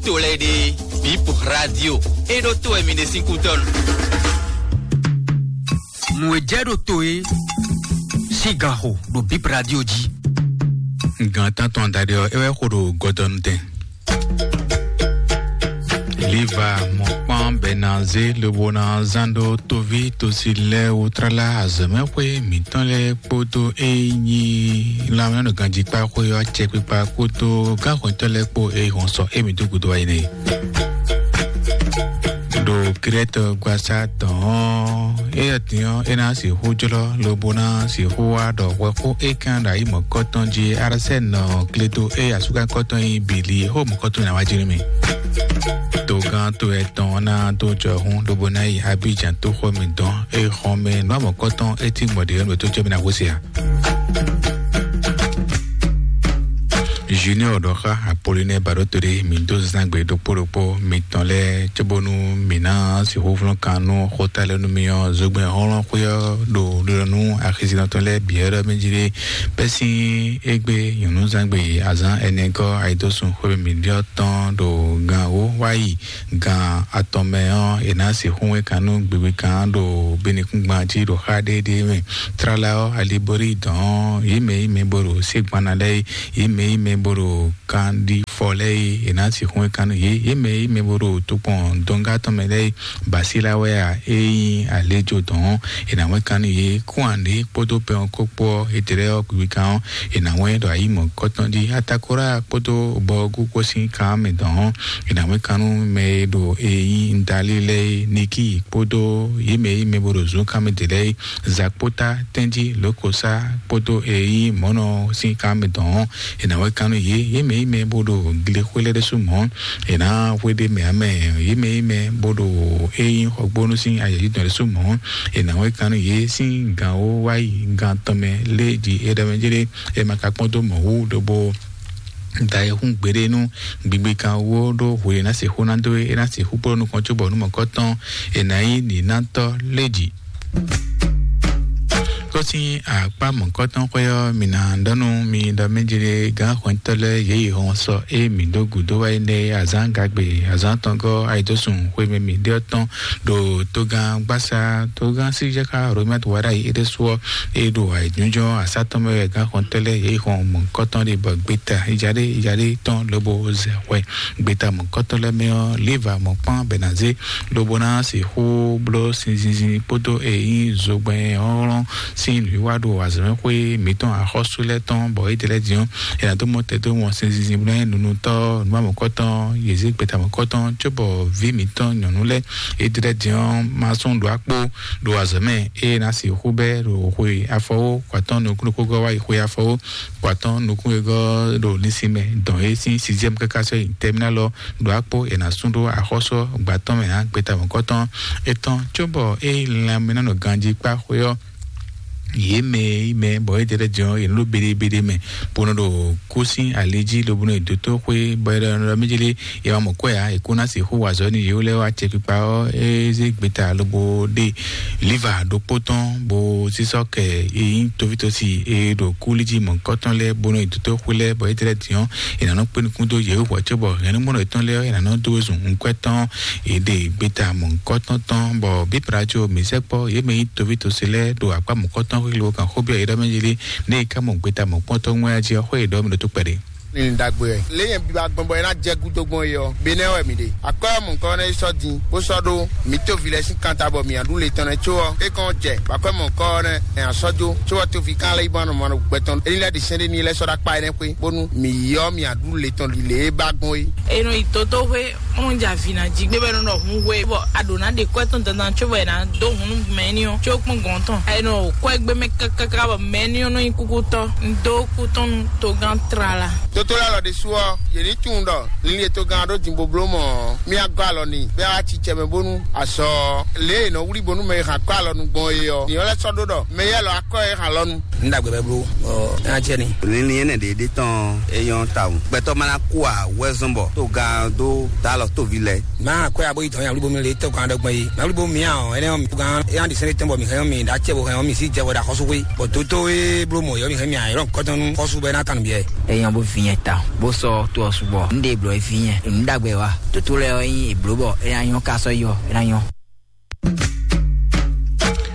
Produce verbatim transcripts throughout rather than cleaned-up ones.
To lɛ́ɛ ɖe, Bip Radio. E ɖo to wɛ mi ɖe sín kútɔ́nu. Nǔ e jɛ ɖo to e sín ganxo ɖo Bip Radio jí. Gan tántɔn adaɖé ɔ́, é wɛ xo ɖo gɔdɔnu tɛn. Liva mɔkpɔn bɛ na zé lobo na zán ɖó toví tosi lɛ́ɛ wú tlala azɔ̌mɛxwé mǐtɔn lɛ́ɛ kpódó e nyí lanmɛnɔganjíkpáxwé ɔ́ acɛkpikpa kpódó gánxɔntɔ́ lɛ́ɛ kpó e hɔn sɔ émí dó gúdo wá yi nɛ. Ɖo Krɛ́tɔ gbasá tɔn ɔ́, éyɛ́ din ɔ́, é ná sixú jlɔ́ lobo ná sixú wá ɖɔ hwɛxó é kán ɖo ayǐ mɔ̌kɔtɔn jí Arsɛ́nɔ Kleto e asúkánkɔtɔn nyí Bili xó mɔ̌kɔtɔn ná wá jí nú mì. Togán to etɔn ɔ́ ná dó jɔhún lobo ná yi Abidjan tóxɔ mǐtɔn e xɔn mɛ nǔ amɔ̌kɔtɔn é cí gbɔn ɖě ɔ́ nú mǐtɔn jɔ mì ná gosín ǎ. Junior ɖɔ xá Apolinɛ Baɖótodé mǐ dó zán gbe ɖokpó ɖokpó mitɔn lɛ́ɛ cóbónú mǐ ná sixú flɔ́n kan nú xóta lɛ́ɛ nú mì ɔ́, zogbɛ́n hlɔ́nhlɔ́n xwé ɔ́ ɖo ɖiɖɔ nú axizínɔ tɔn lɛ́ɛ bǐ ɔ́ ɖɔ mɛ jí ɖé bɛ́ sín égbé nyɔ̌núzán gbe azǎn ɛnɛgɔ́ ayidósun xwé mǐ ɖyɔ́ tɔn ɖo gan wǒ wá yi gan atɔn mɛ ɔ́, è nǎ sixú wɛ́n kan nú gbigbikan ɖo bínúkúngban jí ɖo xá ɖéɖéé mɛ. Tlala ɔ́, ali bo ɖi dɔ̌n yě mɛ yí mɛ bo ɖo ségbana lɛ́ɛ yí, yě mɛ yí mɛ bo ɖo kanɖifɔ lɛ́ɛ yí, è nǎ sixú wɛ́n kan nú yě. Yě mɛ yí mɛ bo ɖo tokpɔn dɔngá tɔn mɛ lɛ́ɛ yí, basílá wɛ a, é nyí alejo dɔ̌n, è nǎ wɛ́n kan nú yě. Kúnwǎnɖé kpódó pɛn ɔ́ kó kpó ɔ́, étɛ́ lɛ́ɛ ɔ́ gbigbikan ɔ́, è nǎ wɛ́n ɖo ayǐ mɔ̌kɔtɔn jí. Atakora kpódó bɔgú kpó sín kan mɛ dɔ̌n, è nǎ wɛ́n kan nú mɛ e ɖo e nyí Ndalí lɛ́ɛ é, Nikí kpódó yě mɛ yí mɛ bo ɖo zǔn kan mɛ ɖě lɛ́ɛ é, Zakpóta, Tɛ́njí, Lǒkosá kpódó e nyí mɔ̌nɔ sín kan mɛ dɔ̌n, è nǎ wɛ́n kan nú yě. Yě mɛ yí mɛ bo ɖo glexwé lɛ́ɛ ɖésú mɔ̌, è nǎ hwe ɖ'é mɛ ǎ mɛ. Yě mɛ yí mɛ bo ɖo e nyí xɔgbónú sín ayǐjínjɔ́n ɖésú mɔ̌, è nǎ wɛ́n kan nú yě sín gan wó wá yi gan tɔn mɛ lé jí é ɖɔ mɛ jéré. È ma ka kpɔ́n dó mɔ̌ wú lobo da e hún gbeɖé nú gbigbikan wó ɖó hwe e ná sixú ná dó é, é ná sixú kplɔ́ nukɔn cóbɔ nú mɔ̌kɔtɔn è nǎ nyí nǐnátɔ́ lé jí. Kó sín akpá mɔ̌kɔtɔn xwé ɔ́, mǐ ná ɖɔ nú mi ɖɔ mɛ jéré gǎn hwɛntɔ́ lɛ́ɛ yě yi hɔn sɔ é mǐ dó gǔdo wá yi nɛ́ azǎn gagbe azǎn tɔngɔ́ ayidósun xwé mɛ mǐ ɖe ɔ́ tɔn ɖo togán gbásá togán síjɛ́ká Romɛ́t wá ɖ'ayǐ é ɖésú ɔ́, é ɖo ayǐjínjɔ́n asá tɔn mɛ wɛ gǎn xɔntɔ́ lɛ́ɛ yě yi xɔn mɔ̌kɔtɔn ɖé bɔ gbeta ijaɖé ijaɖé tɔn lobo zɛ hwɛ. Gbeta mɔ̌kɔtɔn lɛ́ɛ mɛ ɔ́, Liva mɔ̌kpán Bɛnazé lobo ná sixú bló sinzinzin kpódó e nyí zogbɛ́n hlɔ́nhlɔ́n sín nǔwiwa ɖo azɔ̌mɛxwé mǐtɔn axɔ́sú lɛ́ɛ tɔn, bɔ étɛ́ lɛ́ɛ din ɔ́, è nǎ dó mɔ tɛ́ dó wɔn sinzinzin bló nú nunútɔ́ nǔ amɔ̌kɔtɔn yě zé gbeta mɔ̌kɔtɔn cóbɔ vǐ mǐtɔn nyɔ̌nu lɛ́ɛ étɛ́ lɛ́ɛ din ɔ́ ma sún ɖó akpó ɖo azɔ̌ mɛ, ée ná sixú bɛ́ ɖo xwe afɔwó kɔ atɔ́ɔ́n nukúnnú xógɔ́ wá yi xwe afɔwó kɔ atɔ́ɔ́n nukúnnú xógɔ́ ɖo linsin mɛ dɔn é sín sixième káká sɔ́ yi tɛmínálɔ ɖo akpó è nǎ sún ɖó axɔ́sú gbǎtɔ́ mɛ ǎ. Gbeta mɔ̌kɔtɔn etɔn cóbɔ é lanmɛ ná nɔ ganjí kpá xwé ɔ́, yě mɛ yi mɛ bɔ é jɛ ɖɛ jɔ yě nɔ ɖo beɖebeɖe mɛ bó nɔ ɖo kú sín ali jí lobo nɔ yi dótó xwé bɔ é ɖɔ mɛ jélé yɛ wá mɔ kwɛ ǎ, è kó ná sixú wa azɔ̌ nú yě lɛ́ɛ wá acɛkpikpa ɔ́, é zé gbeta lobo ɖe liva ɖokpó tɔn bó sísɔ́ kɛ e nyí tovítɔ́si e ɖo kúli jí mɔ̌kɔtɔn lɛ́ɛ bó nɔ yi dótó xwé lɛ́ɛ bɔ é jɛ ɖɛ din ɔ́, è nǎ nɔ kpé nukún dó yě wú hwɛ̌ cóbɔ hɛ̌nnumɔnɔ yětɔn lɛ́ɛ ɔ́, è nǎ nɔ dó zun nǔkwɛ́tɔn è ɖe gbeta mɔ̌kɔtɔn tɔn bɔ bíbra có mǐ sɛkpɔ́ yě mɛ nyí tovítɔ́si lɛ́ɛ ɖo akpá mɔ̌kɔtɔn xwé lobo kan xó byɔ́ yě ɖɔ mɛ jí lé, nú è ka mɔ gbeta mɔ̌kpɔ́ntɔ́ wɛn jí ɔ́, xó yě ɖɔ mì ɖo tó kpɛɖé. Ní ɖagbe wɛ. Lě nyɛ biba gbɔn bɔ é ná jɛ gúdo gbɔn é ɔ́, benɛ́ wɛ mǐ ɖe. Akwɛ́ ɔ́ mɔ̌kɔ nɛ́ yi sɔ́ din, bó sɔ́ ɖó mǐ toví lɛ́ɛ sín kan ta bɔ mǐ ná ɖu le tɔn nɛ́ có ɔ́, é kɔn jɛ bɔ akwɛ́ mɔ̌kɔ ɔ́ nɛ́ ɛ ná sɔ́ jó, có ɔ́ toví kan lɛ́ yi bɔ ná nɔ mɔ gbɛ tɔn. É ní lɛ́ ɖi sɛ́n ɖé n'i lɛ́ sɔ́ ɖó akpá énɛ́ xwé, bónú mǐ yi ɔ́ mǐ ná ɖu le tɔn lě e ba gbɔn é. È nɔ yi dódó xwé, bó nɔ jɛ avǐ ná jí gbé bɔ é nɔ ɖɔ hun we, bɔ a ɖǒ ná ɖe kwɛ́ tɔn dandan có bɔ è nǎ dó hun nú mɛ éní ɔ́ có kpɔ́n gɔ̌n tɔn. È nɔ kwɛ́ gbé mɛ kákáká bɔ mɛ éní ɔ́ nɔ nyí kúkútɔ́. Un dó kú tɔn nú togán tlala. Tótó lɛ́ɛ lɔ ɖésú ɔ́, yě ní tunwun ɖɔ linlin e togán ɔ́ ɖó din bó bló mɔ̌ ɔ́, mì agɔ́ alɔ n'i, bɔ é wá cicɛ mɛ bónú azɔ lě e è nɔ wlí bónú mɛ e hɛn akwɛ́ alɔnu gbɔn é ɔ́, nyɛ lɛ́ sɔ́ ɖó ɖɔ mɛ éyɛ́ lɔ akwɛ́ e hɛn alɔnu. Ní ɖagbe bɛ bló, ɔ, é ná jɛ ni. Linlin énɛ́ ɖě ɖé tɔn é nyɔ́ tawun. Gbɛtɔ́ ma ná kú ǎ, wɛzɔ́n bɔ togán dó dá Lɔ tovi lɛ. Má akwɛ abo yi tɔn ya wuli bo mi le tɔ kan dɔ gbɛn yi. Má wuli bo mi a ɔ, ɛnɛ ɔ mi gan e an di sɛnɛ tɛn bɔ mi hɛn mi da cɛ bo hɛn mi si jɛ wɔ da xɔsu xwe. Bɔ toto e blo mɔ yɔ mi hɛn mi a yɔrɔ kɔtɔn nu xɔsu bɛ na tan biɛ. Eyan bo fi nyɛ ta, bó sɔ to ɔ sugbɔ. Un ɖe blɔ fi nyɛ, un ɖagbe wa. Toto lɛ ɔ nyi eblo bɔ e na nyɔ ka sɔ yɔ, e na nyɔ.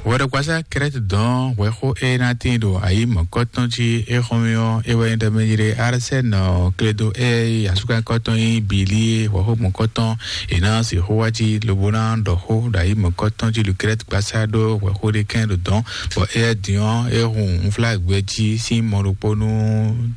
Wɛɖɔkpasa Krɛt dɔn hwɛxó e ná tín ɖo ayi mɔ̌kɔtɔn jí é xɔmɛ ɔ́, é wɛ nyí ɖɔ mɛ nyí ɖe Arsɛn ɔ kledo e asúkakɔtɔn nyí Bili hwɛxó mɔ̌kɔtɔn è nǎ sixú wá jí lobo ná ɖɔ xó ɖo ayi mɔ̌kɔtɔn jí ɖo Krɛt gbasá ɖó hwɛxó ɖé kɛn ɖo dɔn, bɔ éyɛ́ din ɔ́, é hun unflágbɛ jí sín mɔ ɖokpó nú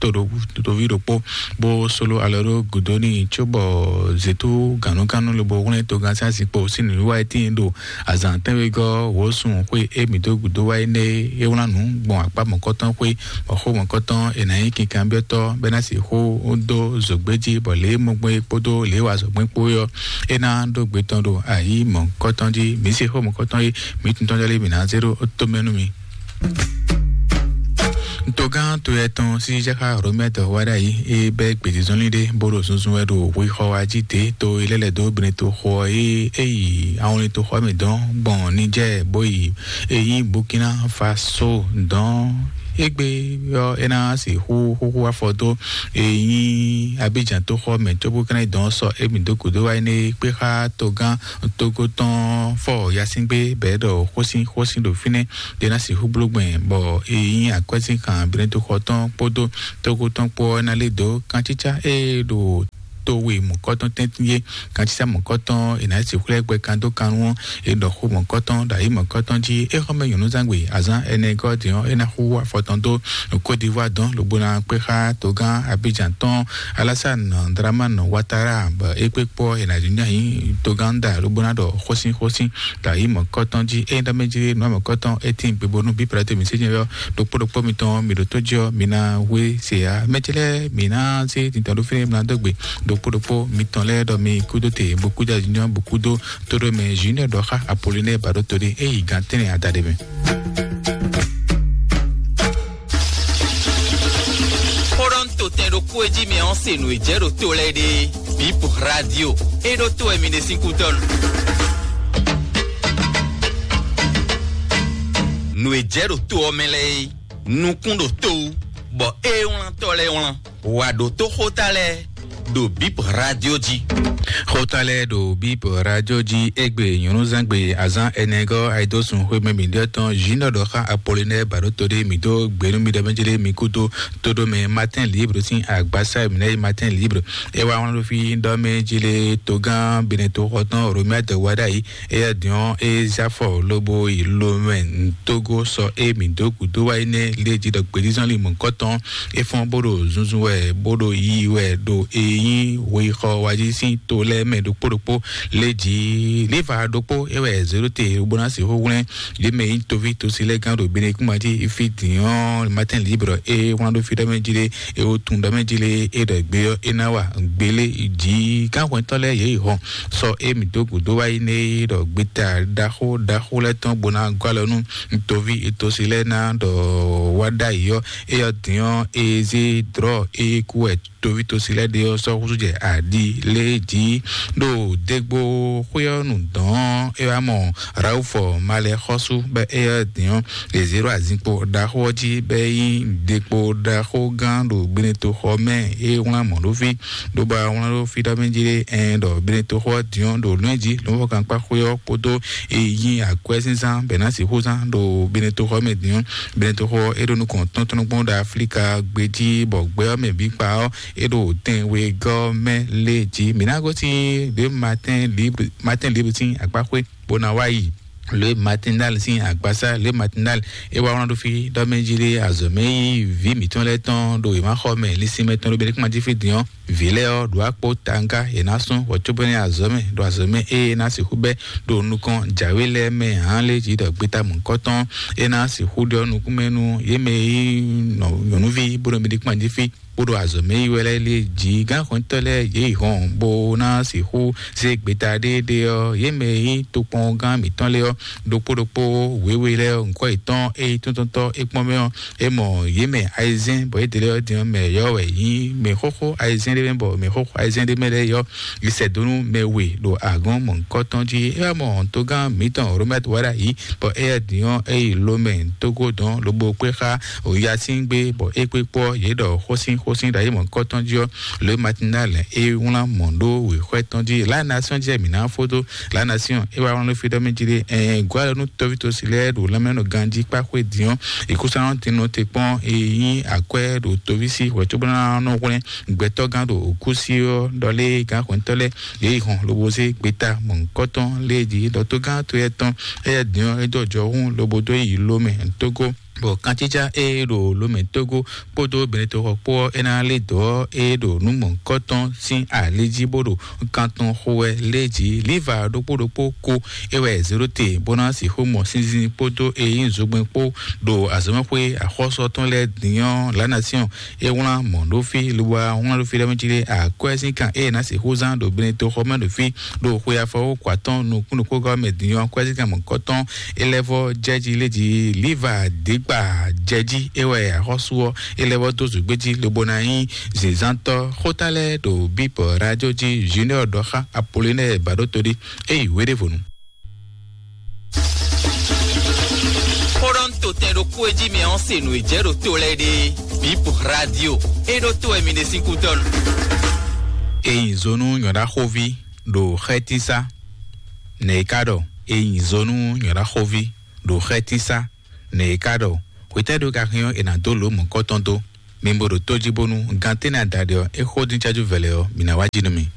toɖo toví ɖokpó, bó sló alɔ ɖó gǔdo n'i cóbɔ zětú gǎnnugánnu lobo hwlɛ́n togán sín azinkpo sín nǔwiwa e tíin ɖo azǎn tɛ́nwegɔ́ wǒsun xwé e mǐ dó gǔdo wá énɛ́ é wlán nǔ gbɔn akpá mɔ̌kɔtɔn xwé, bɔ xó mɔ̌kɔtɔn è nǎ nyí kinkanbyɔ́tɔ́ bɔ é ná sixú dó zǒgbé jí, bɔ lě e mɔ gbɔn é kpódó lě e wa azɔ̌ gbɔn é kpó é ɔ́, é ná ɖó gbe tɔn ɖo ayǐ mɔ̌kɔtɔn jí. Mǐ se xó mɔ̌kɔtɔn e mǐ tun tɔn jɔ lé mǐ ná zé ɖó tomɛ nú mi. Togán to yɛ tɔn sísí xá Romɛtɔ wá ɖ'ayǐ, é bɛ́ gbězínzɔ́nlin ɖé bó ɖo zunzun wɛ ɖo hwixɔ wá jí dě to e lɛ́ lɛ̌ dó Beneto xo ɔ́, é é yi awɔnlin toxɔ mɛ dɔn gbɔn Nijɛ́ɛ bó yi e nyí Burkina Faso dɔn. Égbé ɔ́, é ná sixú xúxú afɔ dó e nyí Abidjan toxɔ mɛ cóbó ka ná yi dɔn sɔ émí dó gǔdo wá énɛ́ kpé xá togán Togo tɔn fɔ yasíngbe bɛ̌ ɖɔ xósin xósin ɖo fínɛ́ ɖé ná sixú bló gbɛn, bɔ e nyí akwɛ́sínkan Beneto xɔ tɔn kpódó Togo tɔn kpó ɔ́ ná lé dǒ kancícá e ɖo to we mɔ̌kɔtɔn tɛ́ntin yé. Kancícá mɔ̌kɔtɔn è nǎ sixú lɛ́ gbɛ kan dó kan nú ɔ́, è ɖɔ xó mɔ̌kɔtɔn ɖo ayǐ mɔ̌kɔtɔn jí. É xɔ́mɛ nyɔ̌nuzángbe azǎn ɛnɛ gɔ́ din ɔ́, é ná xú afɔ tɔn dó Côte d'Ivoire dɔn lobo ná kpé xá togán Abidjan tɔn Alassane Dramane Ouattara, bɔ é kpé kpó ɔ́, è nǎ nyí togán da lobo ná ɖɔ xósin xósin ɖo ayǐ mɔ̌kɔtɔn jí. Ényí ɖɔ mɛ jí nǔ mɔ̌kɔtɔn é tín gbe bónú bí plateau mi sényɛ ɔ́, ɖokpó ɖokpó mitɔn mi ɖo tó jí ɔ́, mi ná hwe se ǎ. Mɛ ce lɛ́ɛ mi ná zé tintɔn ɖó fínɛ́ mi ná dó gbe ɖokpó ɖokpó mitɔn lɛ́ɛ ɖɔ mi kúdó te bó kúdó azinjɔ́n bó kúdó tóɖó mɛ Junior ɖɔ xá Apollinaire Baɖótolé é yi gǎn tɛ́nɛ adaɖé mɛ. Xó ɖɔ un to tɛn ɖokpó e jí mɛ ɔ́ se nǔ e jɛ ɖo to lɛ́ɛ ɖe. Bip Radio. É ɖó to wɛ mi ɖe sín kútɔ́ nu. Nǔ e jɛ ɖo to ɔ́ mɛ lɛ́ɛ é, nukún ɖo to wú, bɔ é wlán tɔ́ lɛ́ɛ wlán. Wǎ ɖó tó xóta lɛ́ɛ ɖo Bip Radio jí. Xóta lɛ́ɛ ɖo Bip Radio jí égbé nyɔ̌núzángbe azán ɛnɛgɔ́ ayidósun xwémɛ mǐɖɔtɔn Junior ɖɔ xá Apollinaire Baɖótolé mǐ dó gběnú mi ɖɔ mɛ jí lé mi kúdó tóɖó mɛ Martin Libre sín agbásá e mǐ ná yi Martin Libre. É wá wlán ɖó fí ɖɔ mɛ jí lé togán Beneto xɔ tɔn Romuald Wadagni, éyɛ́ din ɔ́, é zé afɔ lobo yi Lomɛ Togo sɔ é mǐ dó gǔdo wá énɛ́ lě jí ɖɔ gbězínzɔ́nlin mɔ̌hunkɔtɔn é fɔ́n bó ɖo zunzun wɛ bó ɖo yiyi wɛ ɖo e nyí hwexɔ wá jí sín to lɛ́ɛ mɛ ɖokpó ɖokpó lě jí. Líva ɖokpó é wɛ zě ɖó te bó ná sixú hwlɛ́n yě mɛ e nyí toví tosi lɛ́ɛ gán ɖo Benekúnma jí fí din ɔ́, Martin Libre é wlán ɖó fí ɖɔ mɛ jí ɖé é wó tun ɖɔ mɛ jí lé é ɖɔ gbé ɔ́ é ná wa gbélé jí. Gánhwɛntɔ́ lɛ́ɛ yě yi hɔn sɔ émí dó gǔdo wá yi nɛ é ɖɔ gbeta ɖaxó ɖaxó lɛ́ɛ tɔn bó ná gɔ́ alɔ nú toví tosi lɛ́ɛ ná ɖɔ wá ɖ'ayǐ ɔ́, é ɔ́ din ɔ́ é zé drɔ̌ é kú wɛ toví tosi lɛ́ɛ ɖe ɔ́ sɔ́ húzú jɛ aɖi lé jí. Ɖo dégbó xwé ɔ́ nu dɔn ɔ́, é wá mɔ Raufɔ malɛ xɔ́sú bɔ é ɔ́ din ɔ́, è zě ɖo azinkpo ɖaxó ɔ́ jí bɔ é nyí dekpo ɖaxó gán ɖo Beneto xɔ mɛ. É wlán mɔ̌ ɖó fí ɖó ba wlán ɖó fí ɖɔ mɛ jí ɖé ɛn ɖɔ Beneto xɔ ɔ́ din ɔ́ ɖo lɔ̌nyɛ jí lɔ̌nfɔ́kankpá xwé ɔ́ kpódó e nyí akwɛ́zínzán bɛ̌ ná sixú zán ɖo Beneto xɔ mɛ din ɔ́. Beneto xɔ é ɖo nukɔn tɔ́ntɔ́nnukpɔ́n ɖo Aflíka gbé jí bɔ gbɛ ɔ́ mɛ bǐ kpa ɔ́, é ɖo tɛnwegɔ́ mɛ lé jí. Mǐ ná gosín ɖě Martin Libre, Martin Libre sín akpáxwé bó ná wá yi. Lě Matinal sín agbasá, lě Matinal é wá wlán ɖó fí ɖɔ mɛ jí lé azɔ̌ mɛ yí vǐ mǐtɔn lɛ́ɛ tɔn ɖo wěma xɔ mɛ linsin mɛ tɔn ɖo Benikúma jí fí din ɔ́, vǐ lɛ́ɛ ɔ́ ɖo akpó tanga è nǎ sún hwɛ̌cóbɛ́nɛ́ azɔ̌ mɛ ɖo azɔ̌ mɛ ée é ná sixú bɛ́ ɖo nukɔn jǎwe lɛ́ɛ mɛ hǎn lé jí ɖɔ gbeta mɔ̌hunkɔtɔn é ná sixú ɖɔ nukúnmɛ nú yě mɛ e nyí nyɔ̌nuví bó ɖo Benikúma jí fí. Kpódó azɔ̌ mɛ yi wɛ lɛ́ɛ lé jí gánxɔntɔ́ lɛ́ɛ yě yi hɔn bó ná sixú zé gbeta ɖéeɖé ɔ́, yě mɛ e nyí tokpɔngán mǐtɔn lɛ́ɛ ɔ́, ɖokpó ɖokpó wěwe lɛ́ɛ ɔ́, ŋkɔ́ yětɔn e nyí tóntɔ́ntɔ́ é kpɔ́n mɛ ɔ́, é mɔ yě mɛ ayizɛ́n, bɔ yědɛɛ lɛ́ɛ ɔ́ din ɔ́, mɛ yɔ̌ wɛ nyí mɛ xóxó ayizɛ́n ɖé mɛ bɔ mɛ xó xwayizɛn ɖé mɛ lɛ́ɛ yɔ yi sɛ dó nú mɛ we ɖo agɔn mɔ̌hunkɔtɔn jí. É wá mɔ togán mǐtɔn Robert Wada yìí, bɔ éyɛ́ din ɔ́ é yi Lomɛ Togo dɔn lobo kpé xá Oyasin gbé, bɔ é kpé kpɔ́ yě ɖɔ xósin xósin ɖo ayé mɔ̌hunkɔtɔn jí ɔ́, Le Matinal é wlán mɔ̌ ɖó wěxwɛ́ tɔn jí. La Nation jɛ mǐ ná fódó La Nation é wá wlán fí ɖɔ mɛ jí ɖé, ɛɛ, gɔ́ alɔ nú tɔ́ví tosi lɛ́ɛ ɖo lanmɛ nɔ ganjí kpá xwé din ɔ́, ìkúsánɔ din nɔ te kpɔ́n e nyí akwɛ́ ɖo toví sí hwɛ̌ cóbó ná nɔ hwlɛ́n gbɛtɔ́gán ɖo òkú sí ɔ́ ɖɔ lé gán hwɛ̌ntɔ́ lɛ́ɛ yě yi hɔn lobo zé gbeta mɔ̌hunkɔtɔn lé jí ɖɔ tógán to yɛ tɔn éyɛ́ din ɔ́ é dó ɔjɔhún lobo dó yi Lomɛ Togo. Bɔ kantíjá e ɖo Lomɛ Togo kpódó Benetoxɔ kpó ɔ́, é ná lé dɔ̌ e ɖo nǔ mɔ̌hunkɔtɔn sín ali jí bó ɖo kan tɔn xo wɛ lé jí. Liva ɖokpó ɖokpó ko é wɛ zéɖó te bó ná sixú mɔ sínzín kpódó e nyí zogbɛ́n kpó ɖo azɔ̌mɛxwé axɔ́sú tɔn lɛ́ɛ din ɔ́, La Nation é wlán mɔ̌ ɖó fí, lobo wá wlán ɖó fí ɖɔ mɛ jí ɖé akwɛ́ sín kan e ná sixú zán ɖo Benetoxɔ mɛ ɖo fí ɖo xwe afɔwú kɔ atɔ́ɔ́n nukúnnukúngɔ́ mɛ din ɔ́, kwɛ́zíkan mɔ̌kɔtɔn é lɛ́ vɔ́ jɛ jí lé jí. Liva dǐgba jɛ jí é wɛ axɔ́sú ɔ́ é lɛ́ vɔ́ dó zǔgbé jí lobo ná nyí zǐnzántɔ́. Xóta lɛ́ɛ ɖo bíbɔ radio jí Junior ɖɔ xá Apollinaire Baɖótodí é yi wéɖévonu. Xóɖɔ́ntotɛn ɖokpó e jí mi ɔ́ se nǔ e jɛ ɖo to lɛ́ɛ ɖe. Bip Radio é ɖó to wɛ mi ɖe sín kútɔ́ nu. Eyin zonu nyɔɖaxóví ɖo xɛtísá. Nɛ̌ é ká ɖɔ? Eyin zonu nyɔɖaxóví ɖo xɛtísá. Nɛ̌ é ká ɖɔ? Xwetɛ́ ɖo ka hɛn ɔ́, è nǎ dó lǒ mɔ̌kɔ́tɔn dó. Mi bo ɖo tó jí bónú gantɛ́nɛ adaɖé ɔ́, é xó dín cájú vɛlɛ ɔ́, mǐ ná wá jí nú mi.